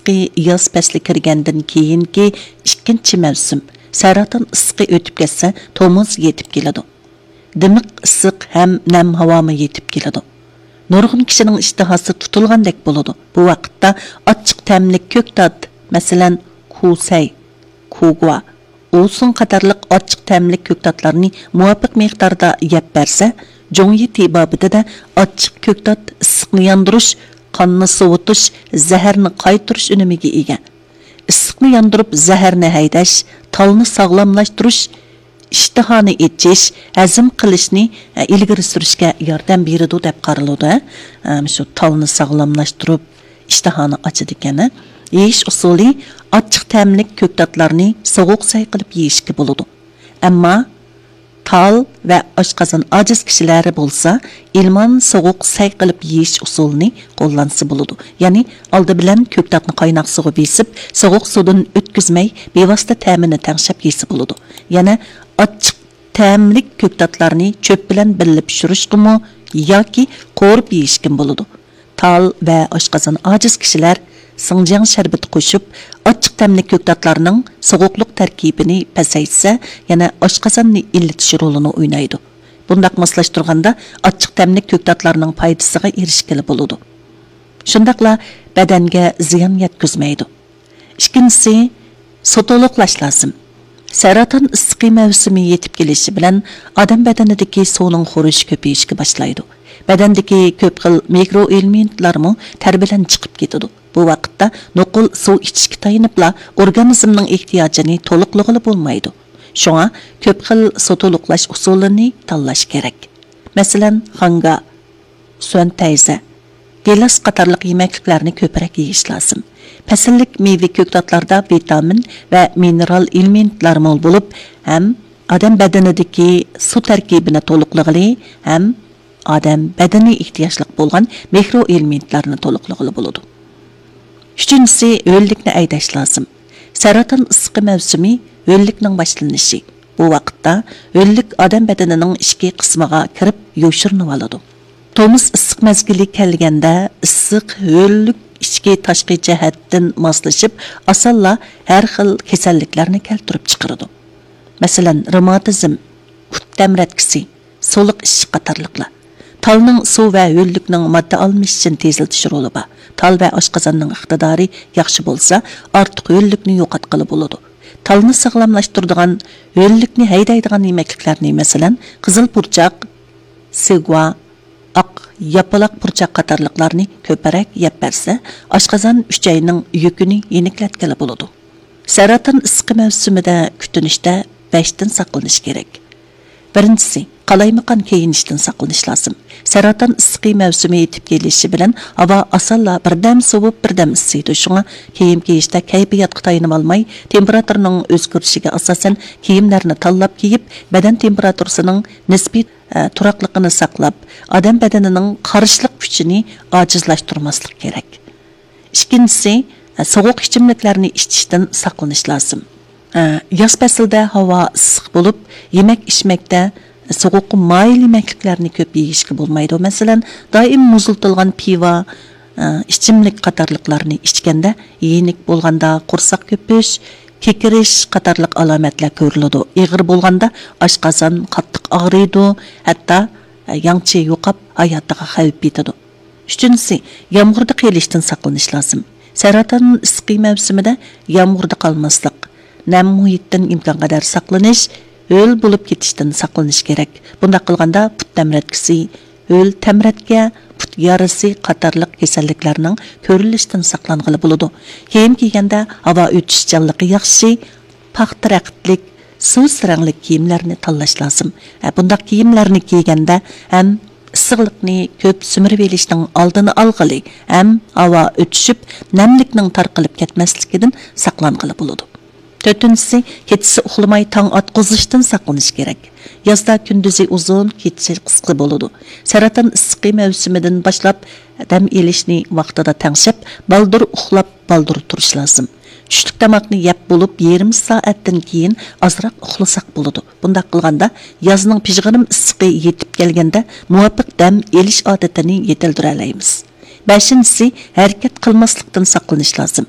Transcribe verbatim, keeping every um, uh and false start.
ئىسسىقى ياز پەسلى كىرگەندىن كېيىنكى ئىككىنچى مەۋسۇم، سەرەتان ئىسسىقى ئۆتۈپ كەتسە، تومۇز يېتىپ كېلىدۇ. دىمىق ئىسسىق ھەم نەم ھاۋامۇ يېتىپ كېلىدۇ. نۇرغۇن كىشىنىڭ ئىشتىھاسى تۇتۇلغاندەك بولىدۇ. بۇ ۋاقىتتا ئاچچىق تەملىك كۆكتات، مەسىلەن، كۇسەي، كۇگۇا، ئۇسۇڭ قاتارلىق ئاچچىق تەملىك كۆكتاتلارنى مۇۋاپىق مىقداردا يەپ بەرسە، جۇڭيى تېبابىتىدە ئاچچىق كۆكتات ئىسسىقنى ياندۇرۇش، قاننى سوۋۇتۇش، زەھەرنى قايتۇرۇش ئۈنۈمىگە ئىگە. ئىسسىقنى ياندۇرۇپ، زەھەرنى ھەيدەش، تالنى ساغلاملاشتۇرۇش، ئىشتىھانى ئېچىش، ھەزىم قىلىشنى، ئە، ئىلگىرى سۈرۈشكە ياردەم بېرىدۇ دەپ قارىلىدۇ، ھە. ئە، شۇ تالنى ساغلاملاشتۇرۇپ، ئىشتىھانى ئاچىدىكەن، ھە. يېيىش ئۇسۇلى: ئاچچىق تەملىك كۆكتاتلارنى سوغۇق سەي قىلىپ يېيىشكە بولىدۇ. ئەمما تال ۋە ئاشقازان ئاجىز كىشىلەر بولسا، ئىلمان سوغۇق سەي قىلىپ يېيىش ئۇسۇلىنى قوللانسا بولىدۇ. يەنى ئالدى بىلەن كۆكتاتنى قايناق سۇغا بېسىپ، سوغۇق سۇدىن ئۆتكۈزمەي، بىۋاسىتە تەمىنى تەڭشەپ يېسە بولىدۇ. يەنە ئاچچىق تەملىك كۆكتاتلارنى چۆپ بىلەن بىللە پىشۇرۇشقىمۇ ياكى قورۇپ يېيىشكىمۇ بولىدۇ. تال ۋە ئاشقازان ئاجىز كىشىلەر سىڭجياڭ شەربىتى قوشۇپ، ئاچچىق تەملىك كۆكتاتلارنىڭ سوغۇقلۇق تەركىبىنى پەسەيتسە، يەنە ئاشقازاننى ئىللىتىش رولىنى ئوينايدۇ. بۇنداق ماسلاشتۇرغاندا ئاچچىق تەملىك كۆكتاتلارنىڭ پايدىسىغا ئېرىشكىلى بولىدۇ. شۇنداقلا بەدەنگە زىيان يەتكۈزمەيدۇ. ئىككىنچىسى، سۇ تولۇقلاش لازىم. سەرەتان ئىسسىقى مەۋسۇمى يېتىپ كېلىشى بىلەن ئادەم بەدىنىدىكى سۇنىڭ خورىشى كۆپىيىشكە باشلايدۇ. بەدەندىكى كۆپ خىل مىكرو ئېلېمېنتلارمۇ تەر بىلەن چىقىپ كېتىدۇ. بۇ ۋاقىتتا نوقۇل سۇ ئىچىشكە تايىنىپلا ئورگانىزمنىڭ ئېھتىياجىنى تولۇقلىغىلى بولمايدۇ. شۇڭا كۆپ خىل سۇ تولۇقلاش ئۇسۇلىنى تاللاش كېرەك. مەسىلەن، خاڭگا، سۈەن تەيزە، گىلاس قاتارلىق يېمەكلىكلەرنى كۆپرەك يېيىش لازىم. پەسىللىك مېۋە كۆكتاتلاردا ۋىتامىن ۋە مىنېرال ئېلېمېنتلار مول بولۇپ، ھەم ئادەم بەدىنىدىكى سۇ تەركىبىنى تولۇقلىغىلى، ھەم ئادەم بەدىنى ئېھتىياجلىق بولغان مىكرو ئېلېمېنتلارنى تولۇقلىغىلى بولىدۇ. ئۈچىنچىسى، ھۆللۈكنى ھەيدەش لازىم. سەرەتان ئىسسىقى مەۋسۇمى ھۆللۈكنىڭ باشلىنىشى. بۇ ۋاقىتتا ھۆللۈك ئادەم بەدىنىنىڭ ئىچكى قىسمىغا كىرىپ يوشۇرۇنۇۋالىدۇ. تومۇز ئىسسىق مەزگىلى كەلگەندە، ئىسسىق ھۆللۈك ئىچكى تاشقى جەھەتتىن ماسلىشىپ، ئاسانلا ھەر خىل كېسەللىكلەرنى كەلتۈرۈپ چىقىرىدۇ. مەسىلەن، رېماتىزم، پۇت تەمرەتكىسى، سۇلۇق ئىششىق قاتارلىقلار. تالنىڭ سۇ ۋە ھۆللۈكنىڭ ماددا ئالمىشىشىنى تېزلىتىش رولى بار. تال ۋە ئاشقازاننىڭ ئىقتىدارى ياخشى بولسا، ئارتۇق ھۆللۈكنى يوقاتقىلى بولىدۇ. تالنى ساغلاملاشتۇرىدىغان ھۆللۈكنى ھەيدەيدىغان يېمەكلىكلەرنى، مەسىلەن، قىزىل پۇرچاق، سېگۇا، ئاق ياپىلاق پۇرچاق قاتارلىقلارنى كۆپرەك يەپ بەرسە، ئاشقازان ئۈچەينىڭ يۈكىنى يېنىكلەتكىلى بولىدۇ. سەرەتان ئىسسىقى مەۋسۇمىدە كۈتۈنۈشتە بەشتىن ساقلىنىش كېرەك. بىرىنچىسى، قالايمىقان كىيىنىشتىن ساقلىنىش لازىم. سەرەتان ئىسسىقى مەۋسۇمى يېتىپ كېلىشى بىلەن ھاۋا ئاسانلا بىردەم سوۋۇپ، بىردەم ئىسسىيدۇ. شۇڭا كىيىم كىيىشتە كەيپىياتقا تايىنىۋالماي، تېمپېراتۇرىنىڭ ئۆزگىرىشىگە ئاساسەن كىيىملەرنى تاللاپ كىيىپ، بەدەن تېمپېراتۇرىسىنىڭ نىسپىي، ئە، تۇراقلىقىنى ساقلاپ، ئادەم بەدىنىنىڭ قارشىلىق كۈچىنى ئاجىزلاشتۇرماسلىق كېرەك. ئىككىنچىسى، سوغۇق ئىچىملىكلەرنى ئىچىشتىن ساقلىنىش لازىم. ياز پەسلىدە ھاۋا ئىسسىق بولۇپ، يېمەك ئىچمەكتە سوغۇققا مايىل يېمەكلىكلەرنى كۆپ يېيىشكە بولمايدۇ. مەسىلەن، دائىم مۇزلىتىلغان پىۋا، ئىچىملىك قاتارلىقلارنى ئىچكەندە يېنىك بولغاندا قورساق كۆپۈش، كېكىرىش قاتارلىق ئالامەتلەر كۆرۈلىدۇ. ئېغىر بولغاندا ئاشقازان قاتتىق ئاغرىيدۇ، ھەتتا ياڭچى يوقاپ ھاياتىغا خەۋپ يېتىدۇ. ئۈچىنچىسى، يامغۇردا قېلىشتىن ساقلىنىش لازىم. سەرەتان ئىسسىقى مەۋسۇمىدە يامغۇردا قالماسلىق، نەم مۇھىتتىن ئىمكانقەدەر ساقلىنىش، ھۆل بولۇپ كېتىشتىن ساقلىنىش كېرەك. بۇنداق قىلغاندا پۇت تەمرەتكىسى، ھۆل تەمرەتكە، پۇت يارىسى قاتارلىق كېسەللىكلەرنىڭ كۆرۈلۈشىدىن ساقلانغىلى بولىدۇ. كىيىم كىيگەندە ھاۋا ئۆتۈشچانلىقى ياخشى، پاختا رەختلىك، سۇس رەڭلىك كىيىملەرنى تاللاش لازىم. ھە، بۇنداق كىيىملەرنى كىيگەندە ھەم ئىسسىقلىقنى كۆپ سۈمۈرۈۋېلىشنىڭ ئالدىنى ئالغىلى، ھەم ھاۋا ئۆتۈشۈپ، نەملىكنىڭ تارقىلىپ كەتمەسلىكىدىن ساقلانغىلى بولىدۇ. تۆتىنچىسى، كېچىسى ئۇخلىماي تاڭ ئاتقۇزۇشتىن ساقلىنىش كېرەك. يازدا كۈندۈزى ئۇزۇن، كېچىسى قىسقا بولىدۇ. سەرەتان ئىسسىقى مەۋسۇمىدىن باشلاپ دەم ئېلىشنى ۋاقتىدا تەڭشەپ، بالدۇر ئۇخلاپ، بالدۇر تۇرۇش لازىم. چۈشلۈك تاماقنى يەپ بولۇپ، يېرىم سائەتتىن كېيىن ئازراق ئۇخلىساق بولىدۇ. بۇنداق قىلغاندا، يازنىڭ پىژغىرىم ئىسسىقى يېتىپ كەلگەندە، مۇۋاپىق دەم ئېلىش ئادىتىنى يېتىلدۈرەلەيمىز. بەشىنچىسى، ھەرىكەت قىلماسلىقتىن ساقلىنىش لازىم.